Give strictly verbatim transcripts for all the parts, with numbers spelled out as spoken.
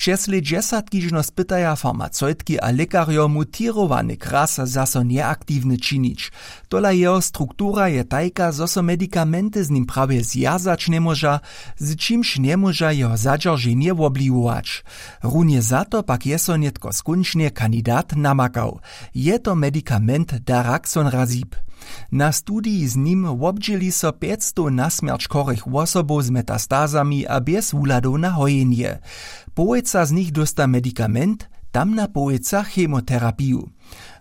Přez lět dźesatki žno spytaja farmaceutki a lěkarjo, mutěrowany kras zaso njeaktiwny činić. Tola jeho struktura je tajka, zo so medikamenty z nim prawje zwjazać njemóža, z čimž njemóža jeho zadźerženje wobliwować. Runje za to pak je so nětko skónčnje kandidat namakał. Je to medikament daraxonrazib. Na studiji z nim wobdźěli so pjećstow na smjerć chorych wosobow z metastazami a bjez wuhladow na hojenje. Połojca z nich dósta medikament, tamna połojca chemoterapiju.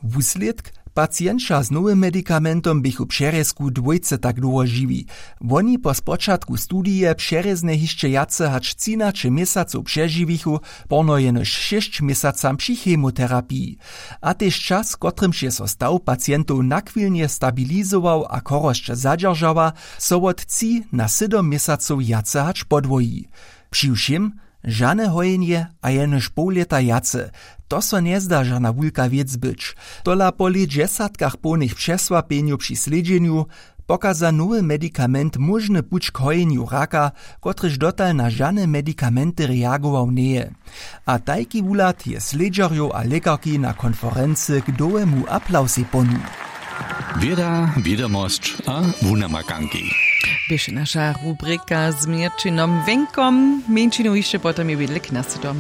Wuslědk: pacienća z nowym medikamentom běchu přerjezku dwójce tak dołho žiwi. Woni po spočatku studije přerjeznje hišće wjace hač třinaće měsacow přežiwichu, porno jenož šěsć měsacam při chemoterapiji. A tež čas, kotrymž je so staw pacientow nachwilnje stabilizował a chorosć zadźeržała, so wot tři na sydom měsacow wjace hač podwoji. Při wšěm žane hojenje a jenož poł lěta wjace. To so njezda žana wulka wěc być. Tola po lět dźesatkach połnych přesłapjenjow při slědźenju pokaza nowy medikament móžny puć k hojenju raka, kotryž dotal na žane medikamenty reagował njeje. A tajki wuhlad je slědźerjow a lěkarki na konferency k dołemu aplausej ponuł. Wěda, wědomosć a wunamakanki. Běše naša rubrika z měrćinom wjenkom. Mjeńšinu hišće potom je wjedle k nasytom.